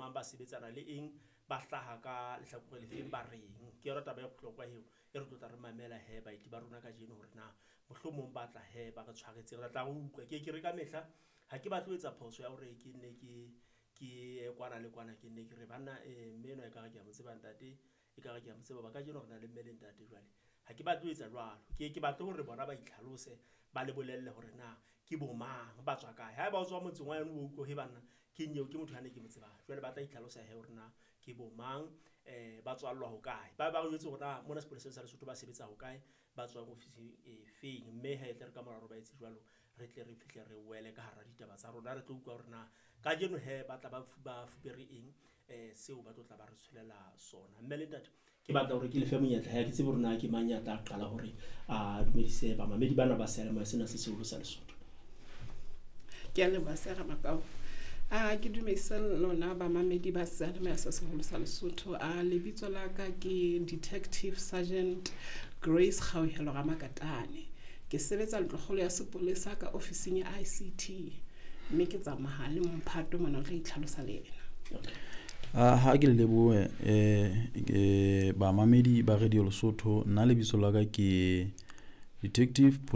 mang, ba sebetsana le eng, ba hlaha ka lehlakore lefeng, ba reng. Ke yona taba e bohlokwa eo e re tlotla re mamela he baeti ba rona kajeno hore na mohlomong ba tla he ba re tshwaretse. Re tla re utlwa. Ke ye ke re ka mehla ha ke batle ho etsa phoso ya hore ke nne ke ye kwana le kwana, ke nne ke re banna mme enwa ekare ke a mo tseba ntate, ekare ke a mo tseba. Hoba kajeno re na le mme le ntate jwale. Ha ke batle ho etsa jwalo. Ke ye ke batle hore bona ba itlhalose, ba le bolelle hore na ke bo mang, ba tswa kae. Haeba o tswa motseng wa heno o utlwe he banna keng eo ke motho yane ke mo tsebang. Jwale ba tla itlhalosa hee hore na ke bo mang, ba tswallwa hokae. Ba ba re jwetse hore na mona sepoleseng sa Lesotho ba sebetsa hokae, ba tswang ofising e feng. Mme hee e tle re ka mora hore ba etse jwalo, re tle re fihle re wele ka hara ditaba tsa rona. Re tlo utlwa hore na kajeno hee ba tla ba fupere eng seo ba tlo tla ba re tsholela sona. Mme le ntate, ke batla hore ke lefe monyetla ha ke tsebe hore na ke mang ya tla qala hore a dumedise bamamedi bana ba seyalemoya sena se seholo sa Lesotho. Ke a leboha Sera Makau. A ke dumedise lona bamamedi ba seyalemoya se seholo sa Lesotho. A lebitso la ka ke Detective Sergeant Grace Kgauhelo Ramakatane. Ke sebetsa ntlokgolo ya sepolesa ka ofising ya ICT. Mme ke tsamaya le mphato mona o tla itlhalosa le yena. Ha ke le lebohe bamamedi ba Radio Lesotho. Nna lebitso la ka ke Detective.